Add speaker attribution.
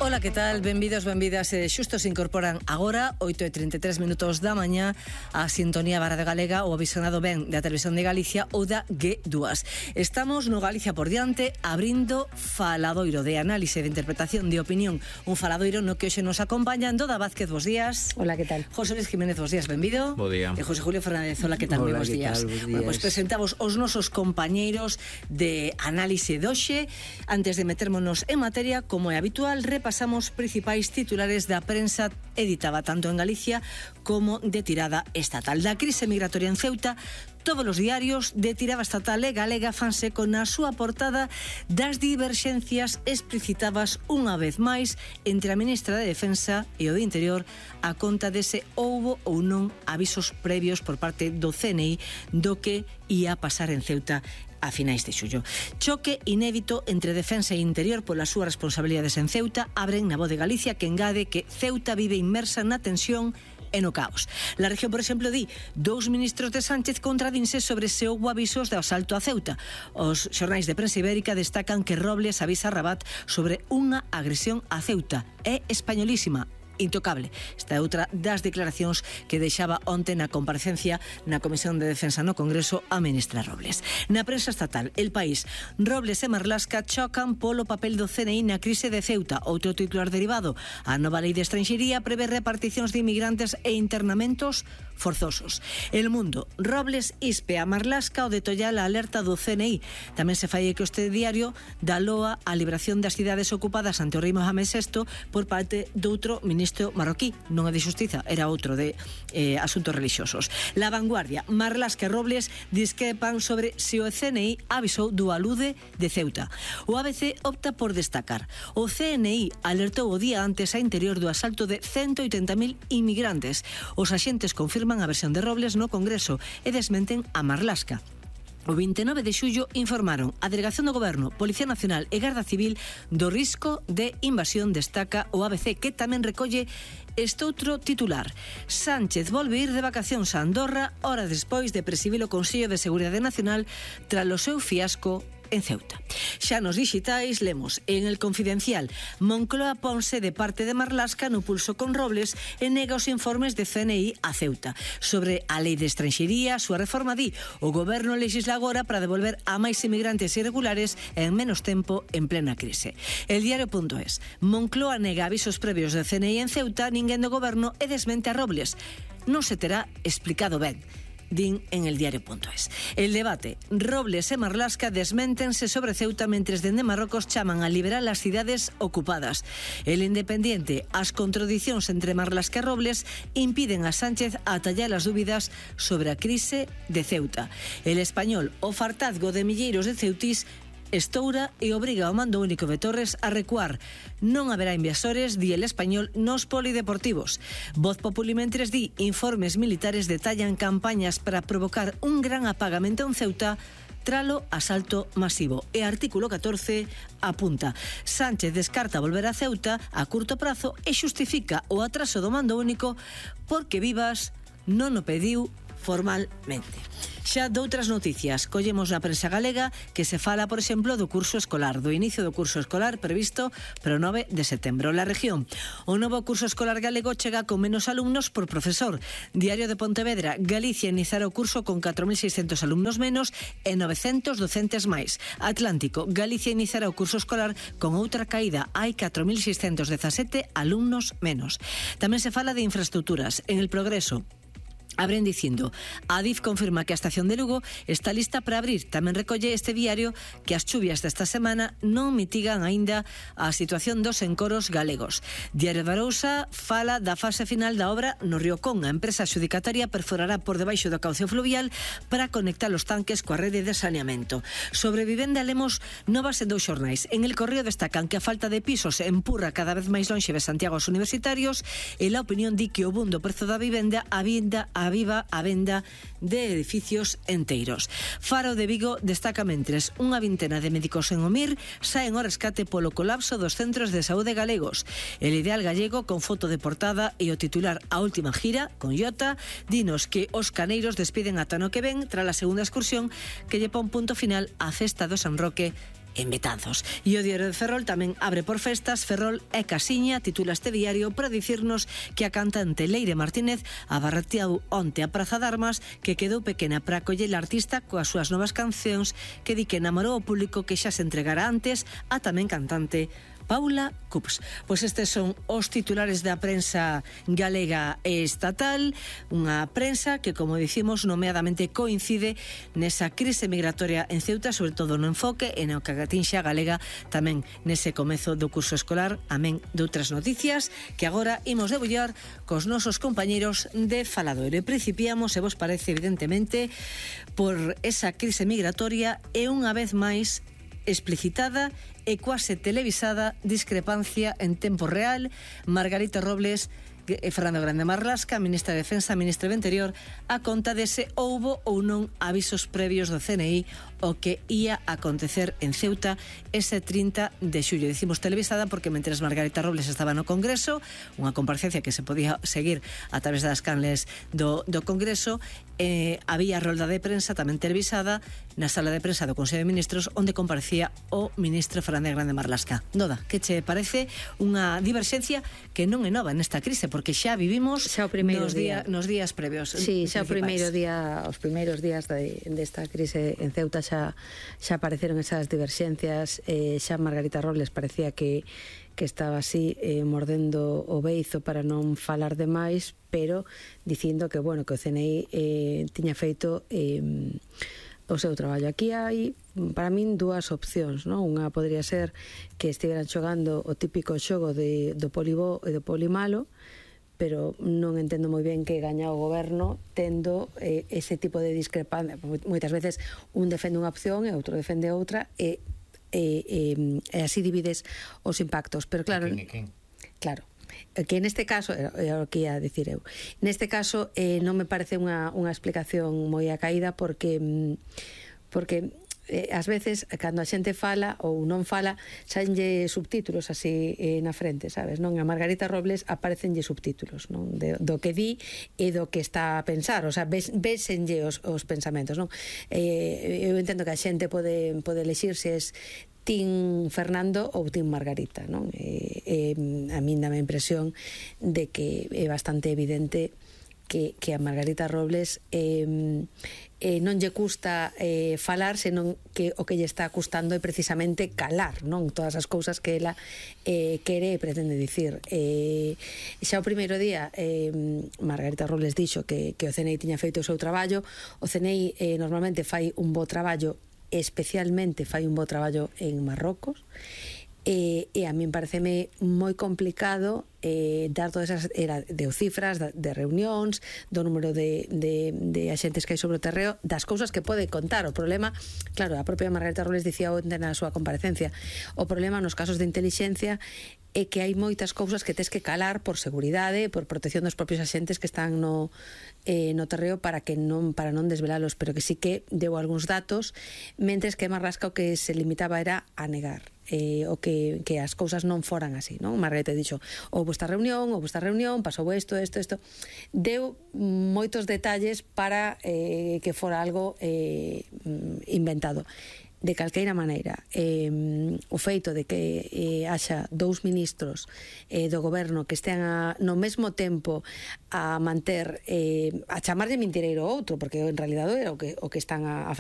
Speaker 1: Ola, que tal? Benvidos, benvidas. Xusto se incorporan agora 8:33 minutos da mañá a sintonía da Radio Galega, o visionado ben da Televisión de Galicia ou da G2. Estamos no Galicia por diante abrindo faladoiro de análise, de interpretación, de opinión. Un faladoiro no que hoxe nos acompaña Doda Vázquez, bos días.
Speaker 2: Hola, que tal?
Speaker 1: José Luis Jiménez, bos días, benvido.
Speaker 3: Bo día.
Speaker 1: E José Julio Fernández, hola, que tal?
Speaker 2: Hola,
Speaker 1: Bos días. Bueno, pues presentamos os nosos compañeiros de análise de hoxe. Antes de metermonos en materia, como é habitual, repasamos principais titulares da prensa editada tanto en Galicia como de tirada estatal. Da crise migratoria en Ceuta, todos os diarios de tirada estatal e galega fanse con a súa portada das diverxencias explicitadas unha vez máis entre a ministra de Defensa e o de Interior a conta dese houbo ou non avisos previos por parte do CNI do que ia pasar en Ceuta a finais de xullo. Choque inédito entre Defensa e Interior polas súas responsabilidades en Ceuta abren na Voz de Galicia, que engade que Ceuta vive inmersa na tensión e no caos. La región, por exemplo, di dous ministros de Sánchez contradinse sobre se houbo avisos de asalto a Ceuta. Os xornais de prensa ibérica destacan que Robles avisa a Rabat sobre unha agresión a Ceuta. É españolísima, intocable. Esta é outra das declaracións que deixaba onte na comparecencia na Comisión de Defensa no Congreso a ministra Robles. Na prensa estatal, El País, Robles e Marlaska chocan polo papel do CNI na crise de Ceuta. Outro titular derivado, a nova lei de estranxería prevé reparticións de inmigrantes e internamentos forzosos. El Mundo, Robles ispe a Marlaska o de Tollal a alerta do CNI. Tamén se fai que este diario da loa a liberación das cidades ocupadas ante o rei Mohamed VI por parte doutro ministro marroquí, non é de xustiza, era outro de asuntos relixiosos. La Vanguardia, Marlaska e Robles discrepan sobre se o CNI avisou do alude de Ceuta. O ABC opta por destacar: o CNI alertou o día antes a Interior do asalto de 180.000 inmigrantes. Os axentes confirman a versión de Robles no Congreso e desmenten a Marlaska. O 29 de xullo informaron a Delegación do Goberno, Policía Nacional e Garda Civil do risco de invasión, destaca o ABC, que tamén recolle este outro titular. Sánchez volve ir de vacacións a Andorra hora despois de presidir o Consello de Seguridade Nacional tras o seu fiasco en Ceuta. Xa nos digitais lemos en El Confidencial: Moncloa ponse de parte de Marlaska no pulso con Robles e nega os informes de CNI a Ceuta. Sobre a lei de estranxería, a súa reforma di o goberno legisla agora para devolver a máis inmigrantes irregulares en menos tempo en plena crise. El Diario.es: Moncloa nega avisos previos de CNI en Ceuta, ninguén do goberno e desmente a Robles. Non se terá explicado ben, din en el Diario.es. El Debate, Robles e Marlaska desméntense sobre Ceuta mentres dende Marrocos chaman a liberar as cidades ocupadas. El Independiente, as contradicións entre Marlaska e Robles impiden a Sánchez atallar as dúbidas sobre a crise de Ceuta. El Español, o fartazgo de milleiros de ceutís estoura e obriga ao mando único de Torres a recuar. Non haberá inversores, di El Español, nos polideportivos. Voz Populi mentres di informes militares detallan campañas para provocar un gran apagamento en Ceuta tralo asalto masivo. E Artículo 14 apunta: Sánchez descarta volver a Ceuta a curto prazo e xustifica o atraso do mando único porque Vivas non o pediu formalmente. Xa doutras noticias, collemos na prensa galega que se fala, por exemplo, do curso escolar, do inicio do curso escolar previsto para o 9 de setembro. La Región, o novo curso escolar galego chega con menos alumnos por profesor. Diario de Pontevedra, Galicia iniciará o curso con 4.600 alumnos menos e 900 docentes máis. Atlántico, Galicia iniciará o curso escolar con outra caída, hai 4.617 alumnos menos. Tamén se fala de infraestructuras. En El Progreso, abren dicindo: Adif confirma que a estación de Lugo está lista para abrir. Tamén recolle este diario que as chuvias desta semana non mitigan aínda a situación dos encoros galegos. Diario de Arousa fala da fase final da obra no Río Con. A empresa adxudicataria perforará por debaixo do cauce fluvial para conectar os tanques coa rede de saneamento. Sobre vivenda lemos novas en dous xornais. En El Correo destacan que a falta de pisos empurra cada vez máis lonxe de Santiago aos universitarios e La Opinión di que o boom do prezo da vivenda aviva a venda de edificios enteiros. Faro de Vigo destaca mentres unha vintena de médicos en Omir saen ao rescate polo colapso dos centros de saúde galegos. El Ideal gallego con foto de portada e o titular A última gira con Iota dinos que os caneiros despiden ata no que ven tras a segunda excursión que lle pon punto final á festa do San Roque en Betanzos. E o diario de Ferrol tamén abre por festas. Ferrol é casiña, titula este diario, para dicirnos que a cantante Leire Martínez abarreteou onte a Praza de Armas, que quedou pequena para acoller a artista coas súas novas cancións, que di que namorou o público que xa se entregara antes a tamén cantante Paula Cups. Pois estes son os titulares da prensa galega e estatal, unha prensa que, como dicimos, nomeadamente coincide nesa crise migratoria en Ceuta, sobre todo no enfoque e no que atinxe a galega tamén nese comezo do curso escolar, amén de outras noticias que agora imos debullar cos nosos compañeiros de Faladoiro. E principiamos, se vos parece, evidentemente, por esa crise migratoria e unha vez máis explicitada e quase televisada discrepancia en tempo real. Margarita Robles e Fernando Grande Marlaska, ministra de Defensa, ministra do Interior, a conta de se houbo ou non avisos previos do CNI o que ia acontecer en Ceuta ese 30 de xullo. Dicimos televisada porque mentres Margarita Robles estaba no Congreso, unha comparecencia que se podía seguir a través das canles do Congreso, había rolda de prensa tamén televisada na sala de prensa do Consello de Ministros, onde comparecía o ministro Fernando Grande Marlaska. Noda, que che parece unha diverxencia que non é nova nesta crise, porque xa vivimos
Speaker 2: xa
Speaker 1: nos días previos.
Speaker 2: Sí, xa o primeiro día, os primeiros días desta crise en Ceuta xa apareceron esas diverxencias. Xa Margarita Robles parecía que estaba así mordendo o beizo para non falar demais, pero dicindo que, bueno, que o CNI tiña feito o seu traballo. Aquí hai, para min, dúas opcións, non? Unha podría ser que estiveran xogando o típico xogo do polibó e do polimalo, pero non entendo moi ben que gaña o goberno tendo ese tipo de discrepancia. Moitas veces un defende unha opción e outro defende outra, e así divides os impactos. Pero claro, claro, que neste caso, é o que ia dicir eu, neste caso non me parece unha explicación moi acaída, porque ás veces, cando a xente fala ou non fala, saenlle subtítulos así na frente, sabes, non? A Margarita Robles aparecenlle subtítulos, non? Do que di e do que está a pensar, o sea, vésenlle os pensamentos, non? Eu entendo que a xente pode elexir se es Team Fernando ou Team Margarita, non? A min dá a impresión de que é bastante evidente que a Margarita Robles non lle custa falar, senón que o que lle está custando é precisamente calar, non? Todas as cousas que ela quere e pretende dicir. Xa o primeiro día Margarita Robles dixo que o CNI tiña feito o seu traballo. O CNI normalmente fai un bo traballo, especialmente fai un bo traballo en Marrocos, e a min pareceme moi complicado dar todas esas cifras de reunións, do número de axentes que hai sobre o terreo, das cousas que pode contar. O problema, claro, a propia Margarita Robles dicía onte na súa comparecencia, o problema nos casos de intelixencia é que hai moitas cousas que tes que calar por seguridade, por protección dos propios axentes que están no terreo, para non desvelalos, pero que sí que deu algúns datos, mentres que Marlaska o que se limitaba era a negar o que as cousas non foran así, non? Margarita dixo, houve esta reunión, pasou isto, deu moitos detalles para que fora algo inventado. De calqueira maneira, o feito de que haxa dous ministros do goberno que estean no mesmo tempo a manter, a chamarlle mentireiro outro, porque en realidade era o que están a facer